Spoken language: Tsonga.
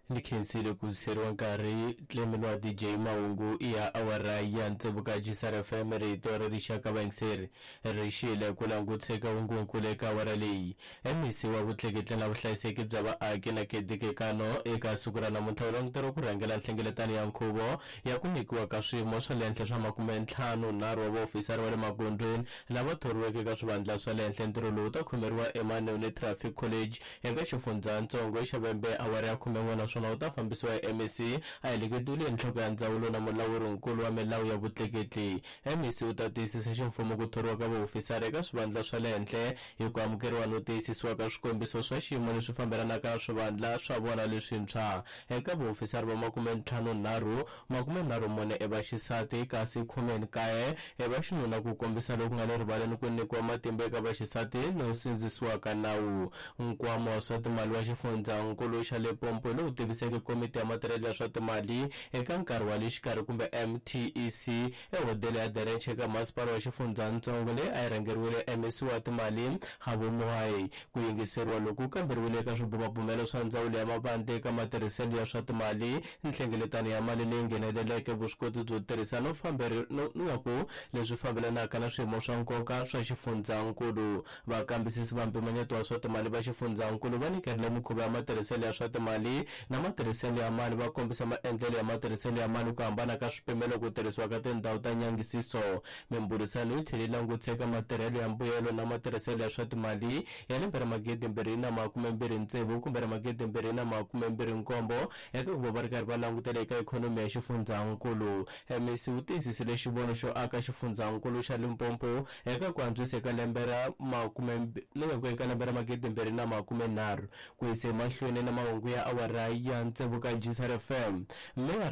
Ni khensile ku seriwa nkarhi Clement wa DJ mahungu ya awara ya tsevu ka Gisar FM rito ra rixaka vayingiseri ri xile ku languteka hungunkulu eka awara leyi. MEC wa vutleketli na vuhlayiseki bya vaaki na Kedikekano eka siku ra namuntlha u languteriwa ku rhangela nhlengeletano ya nkhuvo ya ku nyikiwa ka swiyimo swa le henhla swa 53 wa vaofisara va le magondzweni lava thoriweke eka swivandla swa le henhla. Ntirho lowu wu ta khomeriwa eManeone Traffic College eka xifundzhantsongo xa Vhembe awara ya 11 naswona wu ta fambisiwa hi MEC a heleketiwile hi nhloko ya ndzawulo na mulawuri-nkulu wa milawu ya vutleketli. MEC u ta tiyisisa ximfumo ku thoriwa ka vaofisara eka swivandla swa le henhla hi ku amukeriwa no tiyisisiwa ka swikombiso swa xiyimo leswi fambelanaka na swivandla swa vona leswintshwa. Eka vaofisara va 53, 34 i vaxisati kasi 19 i vaxinuna ku kombisa loku nga le rivaleni ku nyikiwa matimba eka vaxisati no sindzisiwa ka nawu. Nkwama wa swa timali wa xifundzhankulu xa Limpopo lowu tiviseke Komiti ya Matirhelo ya swa Timali eka nkarhi wa le xikarhi kumbe MTEC ehodela ya Derenche eka masipala wa xifundzhantsongo leyi a yi rhangeriwile MEC wa timali Kgabo Mogae. Ku yingiseriwa loku ku kamberiwile eka swibumabumelo swa ndzawulo ya mavandla eka matirhiselo ya swa timali, nhlengeletano ya mali leyi ngheneleleke, vuswikoti byo tirhisa no no ku leswi fambelanaka na swiyimo swa nkoka swa xifundzhankulu. Vakambisisi va mpimanyeto wa swa timali va xifundzhankulu va nyikerile mikhuva ya matirhiselo ya swa timali na matirhiselo ya mali, va kombisa maendlelo ya matirhiselo ya mali, ku hambana ka swipimelo, ku tirhisiwa ka tindhawu ta nyangisiso. Mimbhurisano yi tlhele yi langutisa eka matirhelo ya mbuyelo na matirhiselo ya swa timali ya lembe ra 2026 kumbe ra 2027 eka ku va va ri karhi va langutela eka ikhonomi ya xifundzhankulu. MEC wu tiyisisile xivono xo aka xifundzhankulu xa Limpopo eka ku antswisa eka lembe ra eka lembe ra 2030 ku yisa emahlweni na mahungu ya awara ya tsevu ka Gisar FM. Meyara.